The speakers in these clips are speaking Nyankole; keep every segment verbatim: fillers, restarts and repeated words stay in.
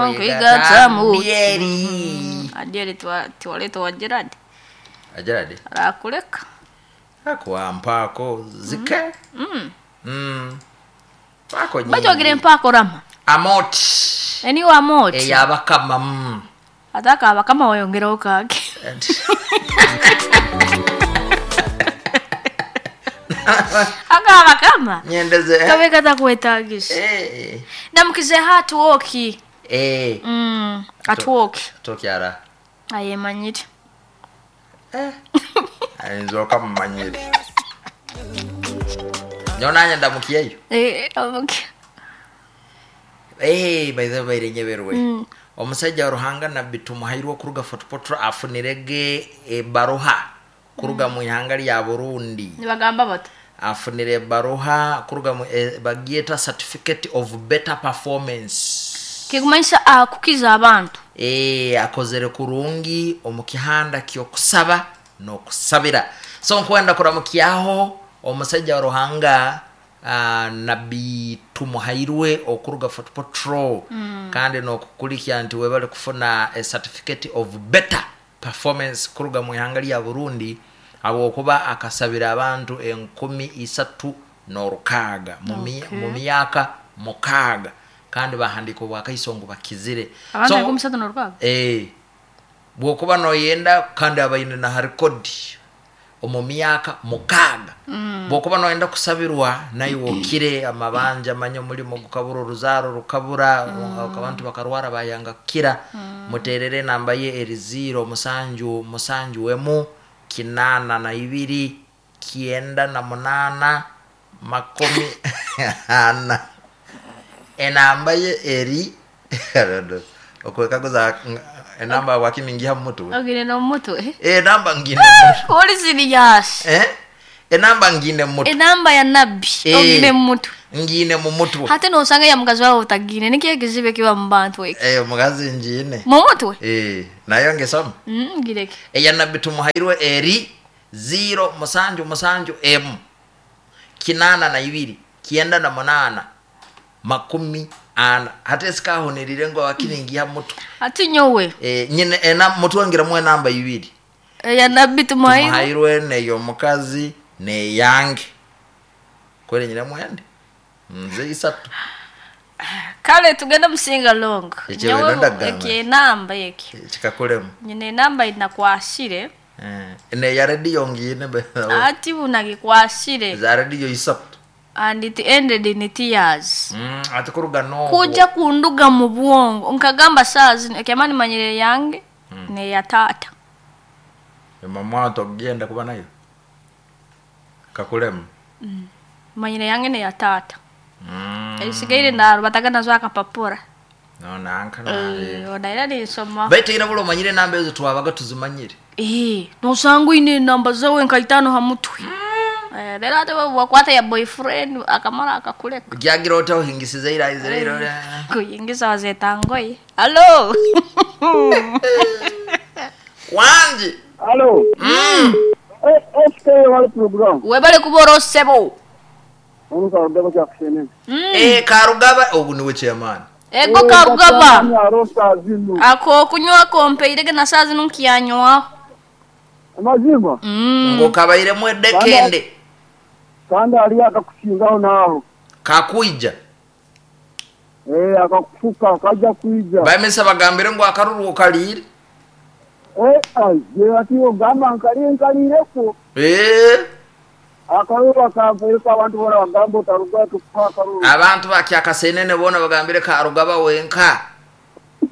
Nkwigatamu. Adyeri. Adyeri tiwaleeta wa Gerard Agerade arakuleka. Akuwa mpaako zike. Mm. Mpaako nyingi. Bajogere mpaako rama. Amoti. Eniwe amoti. Eyabakama mm. Ate akabakama wayongeraho kake. Akabakama. Nyendeze. Kabe katakwetagisa. Eh. Namukize hatuwoki. Eh. Mm, atuwoki. Tokyara. Ayemanyire. Eh. Ayinza okamumanyire. Nyonanye ndamukiyeyo. Eh, okay. Eh, by the way nyeberwe. Mm. Omusajja wa Ruhanga Nabbi Tumuhairwe okuruga Fort Portal afunirege ebaruha kuruga mm. mu ihanga lya Burundi. Nibagamba bata. Afunire ebaruha kuruga mu e, bagyeta certificate of better performance. Kikumanyisa akukiza abantu. Eh, akozere kurungi omu kihanda ky'okusaba n'okusabira. So nkwenda kuramukyaho omusajja wa Ruhanga uh, Nabbi Tumuhairwe okuruga Fort Portal mm. kandi n'okukulikya nti webale kufuna a certificate of better performance kuruga mu ihanga lya Burundi habwokuba akasabira abantu enkumi isatu n'orukaaga mu mi- Okay. mu myaka mukaaga kandi bahandika obwakaiso ngu bakizire. Abantu So- enkumi isatu n'orukaaga. Eh, bwokuba noyenda kandi abaine na harikodi omu myaka mukaaga mm. Bwokuba noyenda kusabirwa naiwe okire amabanja manye omulimo gukabura oruzaaro rukabura mm. Abantu bakarwara bayanga kukira mm. Muterere enamba ye eri ziro musanju musanju emu kinana na ibiri kienda na munana makumi ana enamba ye eri okwekaguza enamba wakiningiha mumutwe. Ogire n'omutwe. Enamba ngine mumutwe. Oli serious. Eh? Enamba ngine mumutwe. Enamba ya Nabbi Eh. ogire mumutwe. Ngine mumutwe. Hate nosanga ya mukazi wawe otagire nikyo ekizibu ekiba mu bantu eki. Eh, omukazi ngine. Mumutwe? Eh, nayo ngesoma. Mm, ngireke. Eya Nabbi Tumuhairwe eri zero musanju musanju emu kinana na ibiri kienda na munana makumi ana hate sikahunirire ngo wakiningiha mutwe. Ati nyowe. Eh, nyine ena mutwe ngiramu enamba ibiri. Eya Nabbi Tumuhairwe. Tumuhairwe neyo mukazi neyange kweli nyine mwende nze isatu. Kale tugende musinga long. Ekyo Nyowe weno ndagamba. eki enamba eki. Kikakulemu. Nyine enamba inakwasire. Eh, neya radio ngine be. Ati bunagikwasire. Za radio isatu. And it ended in tears. Mm, ati kuruga no. Kuja kunduga mu bwongo nkagamba saa zino ekyamani manyire yange mm. Neya tata. Mama togenda kuba nayo. Kakulemu. Mm. Manyire yange neya tata. Mm. Esigaire narubataga nazo akapapura. No nanka na. Eh, onaira nisoma. Baitu ira bulo manyire namba ezo twabaga tuzimanyire. Eh, nosanga oine enamba zawe nka itaano ha mutwe. Eh, rero ate wakwata ya boyfriend akamara akakuleka. Gyagira ota ohingisize ira izira ira. Kuyingiza wazetangoye. Hello. Wanji. Alo. Mm. Eh, S K wali program. Webale kubora sebo. Onu karugaba kya kushene. Mm. Eh, Karugaba ogu niwe chairman. Ego Karugaba. Arosa zinu. Ako kunywa kompeirege na saa zino nkiyanywa. Amazima. Mm. Ngo kabairemu edekende. Kandi ali akakushingaho naho. Kakuija. Eh, akakufuka akaja kuija. Bamesa bagambire ngo akaruru kalire. Eh, ai, je ati ogamba nkali nkalireko. Eh. Akaruru akampeleka abantu bona bagamba otaruga tukuha akaruru. Abantu bakyakasenene bona bagambire Karugaba wenka.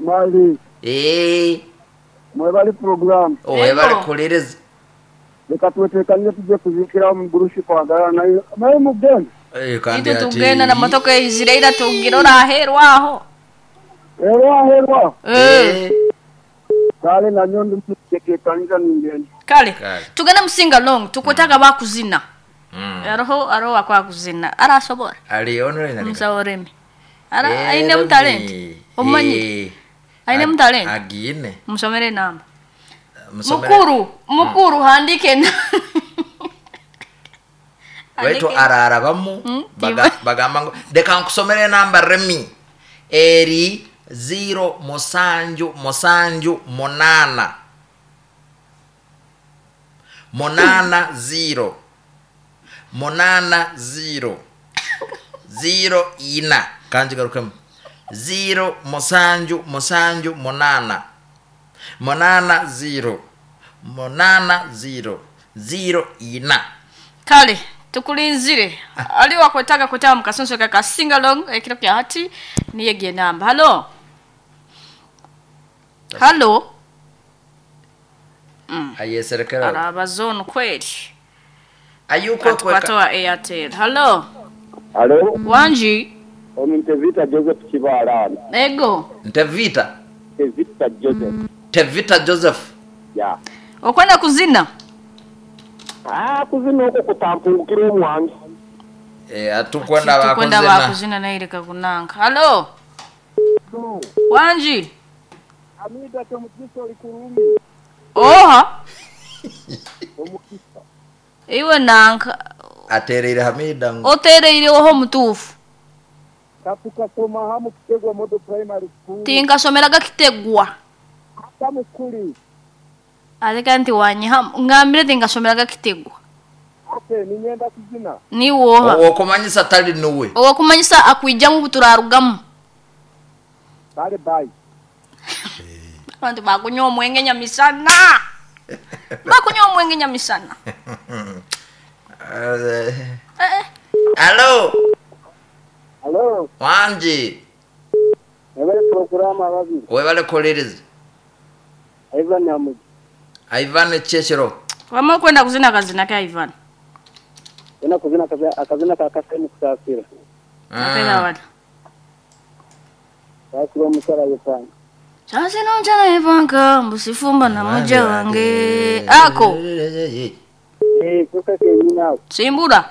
Mali. Eh. Mwebali program. Owebale kulereza. Reka twetekanire tujye kuzikira mu gurushi kwagala nayo. Nayo mugenda. Eh, kandi Itwe ati. tugenda na motoka izira tugira oraherwaho. Herwa herwa. Eh. Kale na nyondo mtekekanira ningenda. Kale. Kale. Tugenda musinga long tukwetaga bakuzina. Mm. Aroho aroho akwakuzina. Arasobora. Ali online ali. Musaworeme. Ara aine mutalent. Omanyi. Aine mutalent. Agine. Musomere namba. Musomere. Mukuru, mukuru handike. Baitu ararabamu Mm, baga, bagamba ngo reka nkusomere namba remi eri ziro musanju musanju munana munana ziro munana ziro ziro ina kanjigarukemu ziro musanju musanju munana munana ziro munana ziro ziro ina. Kale tukulinzire ali wakwetaga kwetaba mukasonso ka singalong ekiro kya hati niye namba. Halo, halo. Ayeserekera. Arabazonu kweli. Ayuko kweka. Kwatoa Airtel. Halo. Halo. Wanji. Ono Ntevita Joseph Kibaala. Ego. Ntevita. Ntevita Joseph. Tevita Joseph. Ya. Okwenda kuzina? Ah, kuzina okwo kutampungukira omwangi. Eh, atukwenda Tukwenda bakuzina. bakuzina naireka kunanka. Halo. Wanji. Amida Kyomukiso oli kurungi. Oha. Omukisa. Iwe nanka Atereire Hamida ngo. otereire oho mutuufu. Katukasoma hamu Kitegwa Model Primary School. Tinkasomeraga Kitegwa. Ata mukuli. Aleka nti wanyiha ngambire tinkasomeraga Kitegwa. Okay, ninyenda kuzina. Niwoha. Owokumanyisa tali nuwe. Owokumanyisa akwijamu buturarugamu. Bale bye. Abantu bakunywa omwenge nyamisana. Bakunywa omwenge nyamisana. Eh, Eh, eh. Halo. Halo. Wanji. Ebale programu ababiri. Webale kolereza. Ivan Amuji. Ivan Cheshiro. Wama kwenda kuzina kazina ka Ivan. Ena kuzina kaza akazina ka kasemu kusafira. Napenda wala. Sasira omusala yepanga. Sasa nonjana Ivanka mbusifumba na muja wange. Ako. Eh, kuka kenyina. Simbura.